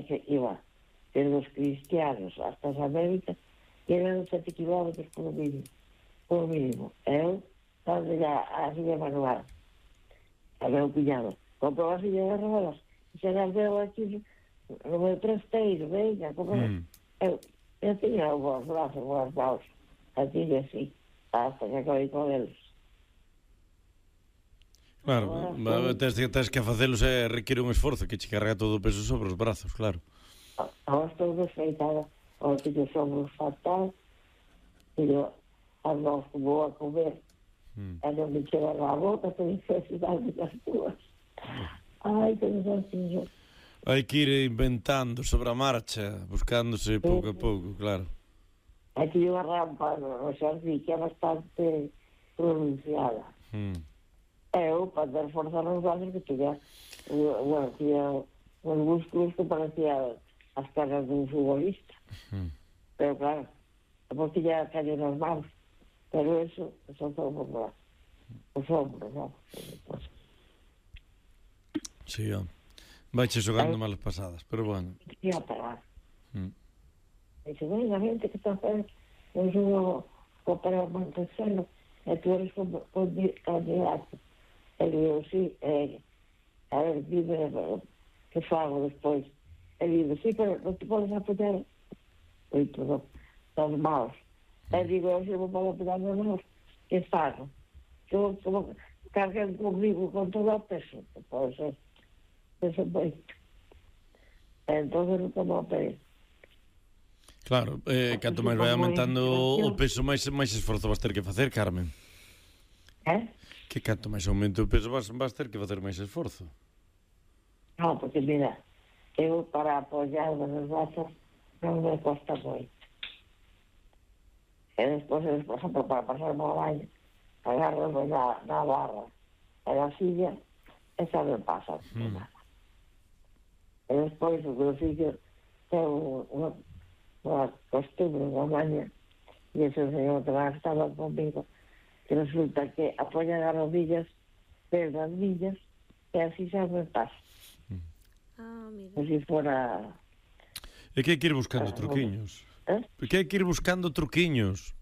que iba desde los cristianos hasta as Américas, e eran 7 kilómetros por mínimo. Eu, estaba ya a silla manual, a meu cuñado, comprou a silla de rodas, e se las veo aquí no meu trasteiro, venga, eu tiña os brazos, os maus, así e así, hasta que acabei con eles. Claro, tens que facelos requiere un esforzo, que che carrega todo o peso sobre os brazos, claro. Ahora estou desfeitada, ahora que os ombros fatal, e eu ando como a comer, e non me chega a boca, tenho necesidade das túas. Ai, que desafío. Hai que ir inventando sobre a marcha, buscándose pouco a pouco, claro. Aquí hai unha rampa no xardín que é bastante pronunciada. Eu, para dar forza nos brazos, que tiña uns músculos que parecían as caras dun futbolista. Pero claro, depois tiña caño nas mãos, pero eso son todos os ombros, non? Sí, vaiche xogando malas pasadas, pero bueno. Ia parar. Dice, ven, a gente que está a hacer un xogo para Montesano, e tú eres candidato. E digo, sí, a ver, dime que fago despois. E digo, sí, pero non te podes apoyar dos maus. E digo, se non podo apoyar dos maus, que fago? Eu como carguen comigo con todo o peso, que pode ser. Eso moito. Entón non tomo a pele. Claro, canto máis vai aumentando o peso, máis esforzo vas ter que facer, Carmen. Que canto máis aumento o peso vas ter que facer máis esforzo. Non, porque mira, eu para apoiar nos brazos non me costa moito. E despois, por exemplo, para pasar o baño, agarro na barra e na silla, esa me pasa nada. E despois o meu fillo ten unha costumbre, unha maña, e ese señor que estaba conmigo, que resulta que apoya as rodillas desde as millas e así xa me pasa. Mira. Como se fora... É que hai que ir buscando truquiños. Que hai que ir buscando truquiños.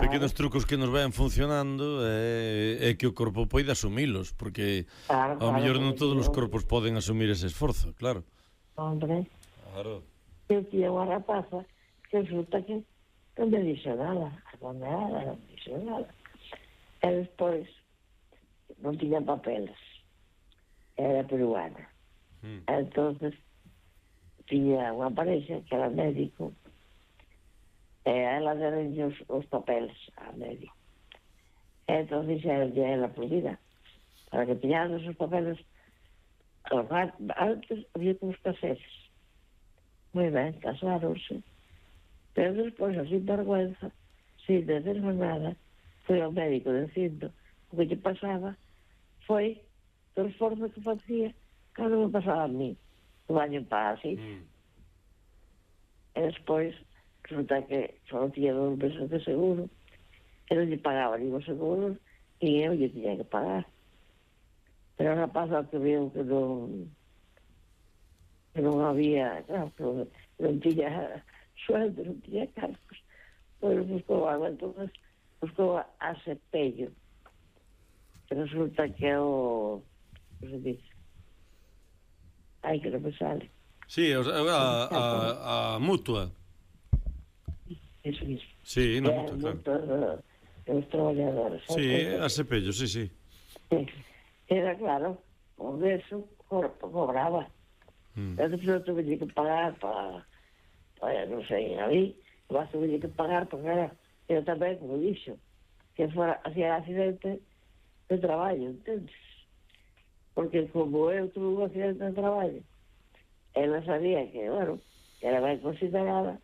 Pequenos trucos que nos vayan funcionando e que o corpo poida asumilos, porque ao mellor non todos os corpos poden asumir ese esforzo, claro. Hombre, claro. Eu tinha unha rapaza que resulta que non me dixo nada, non me dixo nada. E despois non tiña papeles, era peruana. Entonces tiña unha parexa que era médico, e a ela deronlle os papeles a médico. E entón dixeronlle a ela por vida, para que tiñados os papeles antes había que os caseres. Moi ben, casáronse. Pero despois, sin vergüenza, sin decirme nada, foi ao médico dicindo o que lle pasaba foi do esforzo que facía cando me pasaba a mí. O baño para así. E despois, resulta que só tiña 2 meses de seguro, e non lle pagaba nin o seguro, e eu lle tiña que pagar. Pero a rapaz que veo que non había, claro, que non tiña sueldo, non tiña cargos, pois buscou algo, entonces buscou a Cepello, que resulta que é o se dice, ai que non me sale. Sí, a mutua. Eso mismo. Sí, na mutua, claro. Os traballadores. Sí, a Cepello, sí. Era claro, por eso cobraba. Entonces eu tuve que pagar para non sei, ali, mas tuve que pagar porque era, eu tamén, como dixo, que fora, hacía accidente de traballo, entendes? Porque como eu tuve un accidente de traballo, ela sabía que, bueno, que era ben considerada,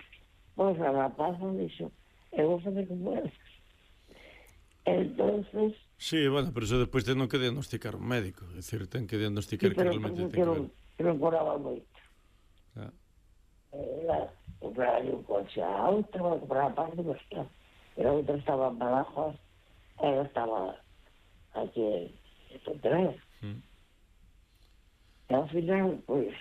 pois a rapaza dixo, eu vou fazer como elas. Entonces... Sí, bueno, pero eso despois ten que diagnosticar un médico, é dicir, ten que diagnosticar que realmente ten que ver. Pero non cobraba moito. Era comprar un coche a outra, comprar a parte, pero a outra estaba en Badajoz, ela estaba aquí en Pontevedra. E ao final, pois,